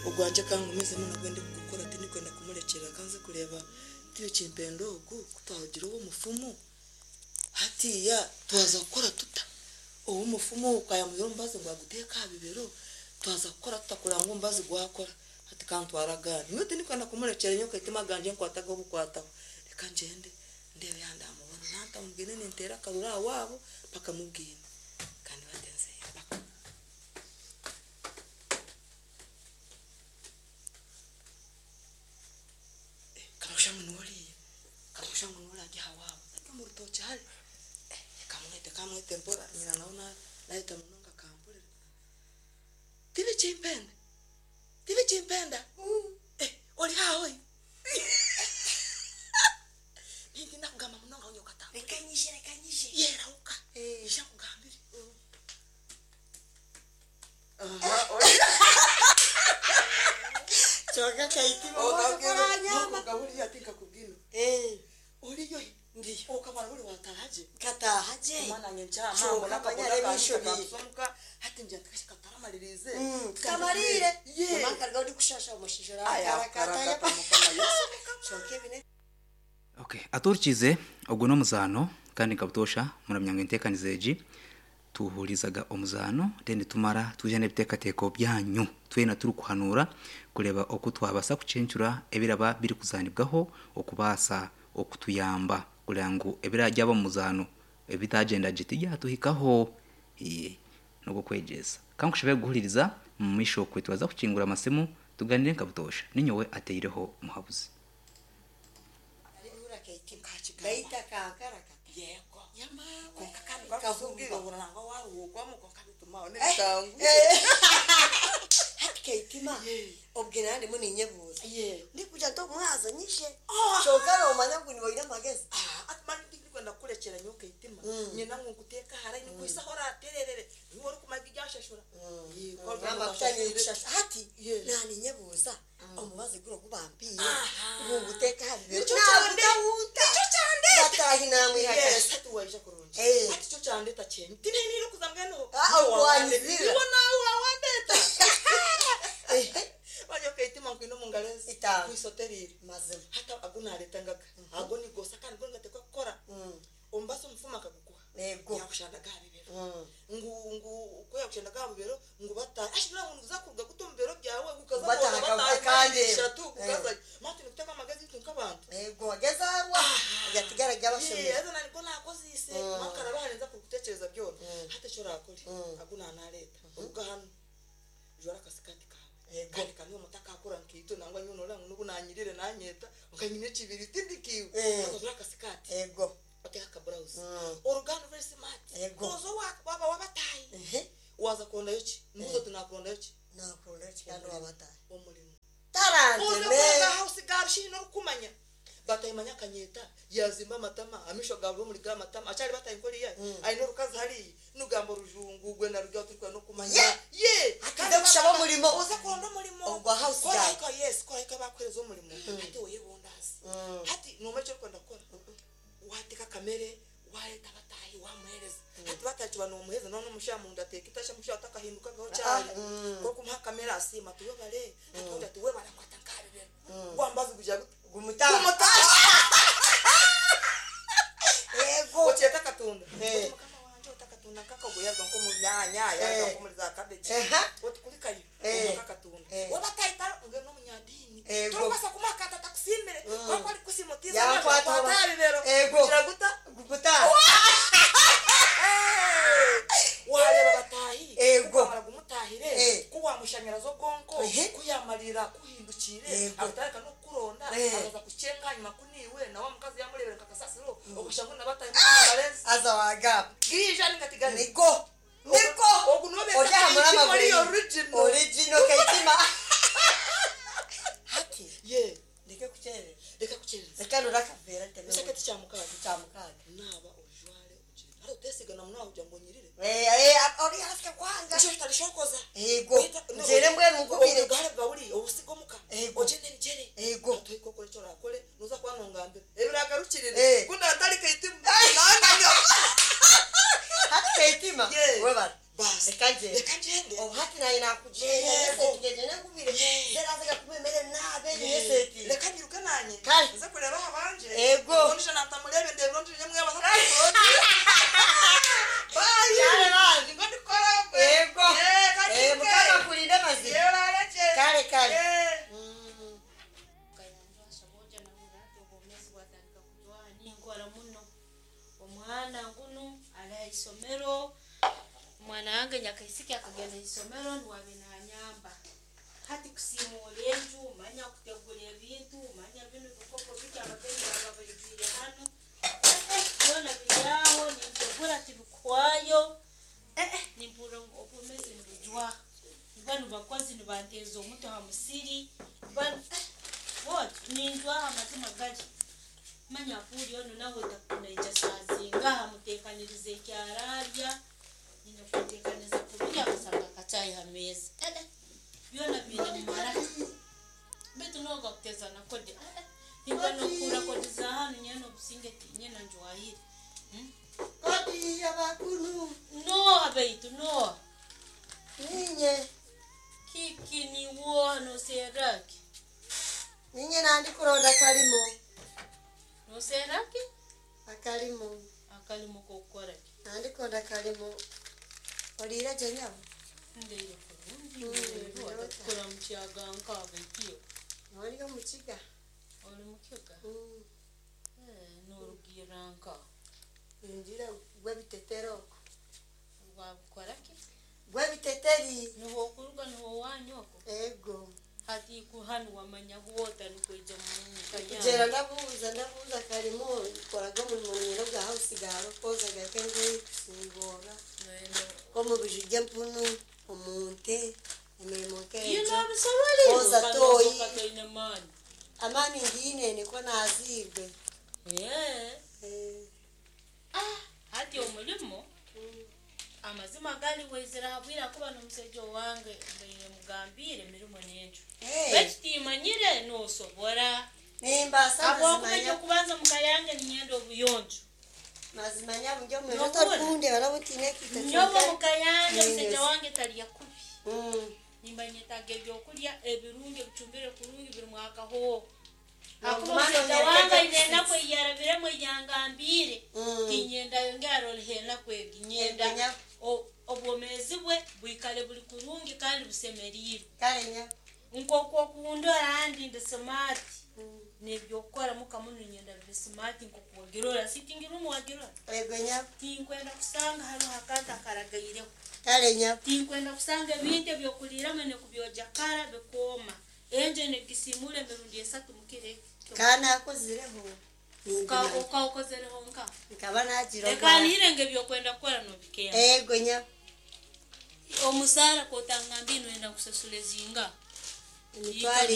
Ogwangye ka ngumizemu nagwo ndikugukora tindikwenda kumurekyera ka nze kureeba Tibikimpenda ogu ku twarugira ow'omufumu hatiiya twaza kukora tuta? Ow'omufumu ogu ka yaamuhaire omubazi ngu aguteeke aha bibero, twaza kukora tuta kureba ngu omubazi gwakora? Hati ka ntware agandi. Nyowe tindikwenda kumurekyera nyowe kaitima agangye nkwate ag'obukwataho. Reka ngyende ndeebe yaaba ndaamubona. Naaba ntamubwine ninteera akaruru aha waabo mpaka mubwine. Ka ndiba nzeyo mpaka. Kamusha ngu niwe oriiya, kamusha ngu niwe orarya aha waabo, ari omu rutookye hare. Kamwete kamwete mpora nyina nawe nayeta munonga akampurira. Tibikimpenda, tibikimpenda, ori haaha oyi? Nintinda kugamba munonga nyowe okatampurira. Reka nyije, reka nyije. Yerahuka, ija nkugambire. Kyonka Kaitima oranyamba. Buriya tinkakubwine. Oriyo hi? Ndiyo. Okamara buri wataaha gye? Nkataaha gye. Omwana nanye nkyama Kyonka mbona manya akabona reeba kange enshobi. kakansomuka hati ngira nti kashi kataramaririize. Tutamariire. Ye. Mama akaruga ndikushasha omushaija Aya, orakarakata. karakata Mukama Yesu. Kyonka ebi ne Okay, atuhurikiize ogwo n'omuzaano kandi nka butoosha muramya ngu enteekaniza egi tuhurizaga omuzaano then tumara twija n'ebiteekateeko byanyu twena turikuhanuura kureeba oku twabaasa kucencura ebiraba birikuzaanibwaho okubaasa okutuyamba kureba ngu ebiragyaba omu muzaano ebitagyenda gye tibyatuhikaho. Ee, n'ogw'okwegyesa. Ka nkushabe kuguhuririza omu maisho okwe turaza kukingura amasimu tuganire nka butoosha. Ninyowe ateireho muhabuzi. Arihura Kaitima. Nkakigamba. Baita kankarakata. Yego. Yamawe. Konka kandi Kahumba. bakubwira nangwa waruhukwamu konka bituma aho n'ebitangu. Hati Kaitima. Obwe nanye ndimu ninyebuuza. Ye. Ndikugira nti omwazo nyije. Ah. Kyonka nomanya ngu niwe oine amagezi. Ati mani tindikwenda kukurekyera nyowe Kaitima. Nyenda ngu nkuteeke aha layini nkwise ahu oratererere. Niiwe orikumanya ebyashashura. Ye, ku orikuba Amakuta otashashwire. nikushasha. Hati Ye. naninyebuuza omubazi guri ogu bampiire Aha. ngu nguteeke aha bibero. Nikyo kyande. Nagutahunta. Nikyo kyandeta. Bataahi namwihakana. Yes, hati waija kurungi. Eh. Hati kyo kyandeta kyenyi. Tinenire kuza mbwenu. Ah, Niwe wawandeta. wanyizira. Niwe nawe wawandeta. Ehe. Wanyowe Kaitima nkwine omu ngaro ezi. Itaano. Nkwisoterire. Mazima. Hati agu nareeta ngaga. Ago nigosa kandi go nigateekwa kukora. Omubazi omufumu akagukuha. Ego. Yakushandaga aha bibero. Ngu ngu ku yakushandaga aha bibero ngu batahe. Ashobora ngu niguza kuruga guta omu bibero byawe gukaza Bataha kuza batahe akande. ishatu gukaza. Mati nikuteka amagezi itwe nk'abantu. Ego agezarwa. Agatigara Ye, gabashomire. haza nani go nakoziise. Makaraba harenza kukutekereza byona. Hati eki orakore agu nanareeta. Oruga hanu jwara akasikati kawe. Ego. Kandi kaniwe mutakakora nkaitwe nangwa nyowe noreba ngu n'obu nanyirire nanyeta nka nyine ekibiri tindikiiwe. Eh. Haza ojware akasikati. Ego. Oteeka akaburawuzi. Oruga hanu very smart. Ego. Oza owa waaba wabataahi. Ehe. Waza kurondayo ki? Mbuuza oti nakurondayo ki? Nakuronda ki kandi wabatahi. Omurimo. Oza Taranteme. kuronda house girl shi orikumanya. Batahimanya akanyeta yazimba amatama amisho gawe omuri ga matama akyari batahi nkoriya aine orukazi hariya nugamba orujungu gwe narugya turikwenda n'okumanya. Ye. Ye. Atuze kushaba omurimo. Oza kuronda omurimo. Ogwa house Kora girl. hika yes, kora hika bakuhereza omurimo. Hati oyebundaaze. Hati nomanya eki orikwenda kukora. Wateeka akamere wareeta abatahi wamuhereza. Hati batahi kiba nomuhereza noona omushaija munda ateeka itasha omushaija atakahindukagaho kyari. Orikumuha akamere asiima ati webare. Hati ondi ati webare akwata nk'aha bibero. Gwambazi gugira guta? Gumutaha. Gumutaha. Ego. Okyeta akatunda. Eh. Oti mukama wangye oti akatunda nk'akago yaruga nk'omu myanya yaruga Eh. nk'omuri za cabbage. Eha. Oti kurikayo Eh. omuhe akatunda. Eh. Waaba atahita ngu n'omunyadiini. Ego. Torikubaasa kumuha akata atakusiimire. Kwonka arikusiima otiize Yankwata amaisho akwata aha bibero. Ego. Kugira guta? Gumutaha. Wareeba bataahi. Ego. Ku wamara gumutaahire. Eh. Ku wamushanyaraza obwonko. Ehe. Ku yamarira kuhindukiire. Ego. Akatandika n'okukuronda. Eh. Akaza kukyenga ahanyima ku niiwe nawe omukazi yamureebera nka kasasiro. Okashanga ngu nabatahi mukabarezi. Haza wagamba. Giija ninga tigari. Niko. Niko. Ogu niwe beeta Ori aha murama Kaitima ori guri. original. Original Kaitima. Hati. Ye. Ndeke kukyerera. Reka kukyerereza. Reka nore akaveera nteme. Ekisaketi kya mukaaga. Kya mukaaga. Naaba ojware ogyende. Hati oteesiga na munonga kugira ngu onyirire. Eh, eh, ori hafi kwanga. Ekyo kitarishokoza. Ego. Ngyere mbwenu nkubire. Obugare bwawe buri obusiga omuka. Ego. Ogyende ebigyere. Ego. Hati okore eki orakore noza kuba nongambira. Ebiragarukirire. Eh. Ku natari Kaitima. Nananya. Hati Kaitima. Ye. Webare. Basi. Reka ngyende. Reka ngyende. Obu hati naye nakugyenda. Yego. Tugende nkubire. Ye. kale. Kayanja nahurra hati obwomeezi bwatandika kujwaha ninkora muno. Omwana ngunu ali ha isomero, omwana wange nyakaisiki akagenda ha isomero nuwe abe nanyamba. Hati kusiimuura enju, manya kutegura ebintu, manya binu bikopo biki abagenyi baba baijwire hanu. Byona biri aho nintegura tibikuhwayo. Nimpurra ngu obwomeezi nibujwaha. Banu bakozi nibanteeza omutwe ha musiri, banu bwoti ninjwaha amazima gali. Manya apuuri onu nawe naija saaha zingaha muteekanirize eki araarya, nyine kumuteekaniriza kubirya akasanga akacaayi ha meeza. Byona biine mumaraka. Beitu nooga kuteeza na kodi, nimba n'okuhurra kodi za hanu nyowe obusinge tinyine njwahire. Kodi abakuru. Nooha beitu nooha? Ninye. Kiki niwoha nooserra ki? Ninye nandi kuronda kalimo. Nooserra ki? Akalimo. Akalimo k'okukora ki? Nandi kuronda kalimo. Oliire gye nyabo? Ndaire kurungi, ndaire otatukora mukyaga nk'abaitu. Oli omukiga. Oli mukiga? Norugiirra nka? Ningira gw'ebitetero okwo. Wabukora ki? Gw'ebiteteri. Niho okuruga niho owanyu okwo? Ego. Hati hanu wamanya bwota nikwija muka Kugyera yanyu. ndabuuza ndabuuza kalimo nkoraga omurimo nyine ogwa house girl kwozaga engoye kusingoora nk'omu biju by'empunu omu nte emirimo Iyo nk'egyo. nobisobora Kwoza toyi. kandi toine maani. Amaani ngiine nikwo naaziirwe. Hati omurimo amazima gali waizire aha bwire ahakuba n'omusaija owange mbaire mugambiire emirimo n'enju. Beitu timanyire noosobora. Nimbaasa Habwokuba mazima nyabo. eky'okubanza muka yange niinyenda obuyonjo. Mazima nyabo ndi omwezi Nohurra? otarikundeba nobu ntiine ekiito Nyowe kyonka. muka yange omusaija Ninyoza. wange tarya kubi. Nimba nyetaaga ebyokurya ebirungi ebicumbire kurungi birimu akahooho. Hakuba Noguma omusaija nonyereka wange aine ekyokusiisa. enaku ei yarabiremu ei yangambiire, tinyenda ayongere aroleho enaku egi. Nyenda Ego nyabo. obwomeezi bwe bwikale buri kurungi kandi busemeriirwe. Kale nyabo. Nk'oku okundora handi ndi smart. N'ebyokukora muka muno niinyenda bibe smart nk'oku wagirora. Sitting room wagirora? Ego nyabo. Tinkwenda kusanga hariho akantu akaragaireho. Kale nyabo. Tinkwenda kusanga ebintu eby'okuliiramu nikubyoja kara bikooma. Enju nigisiimuura emirundi esatu mukiro eki. Ka naakozireho. Nimbimanya. Okaokozereho nka? Nkaba naagira Leka obwara. nihire ngu ebyokwenda kukora noobikemba. Ego nyabo. Omusaara k'otangambiire noyenda nkusasule zingaha? Emitwaro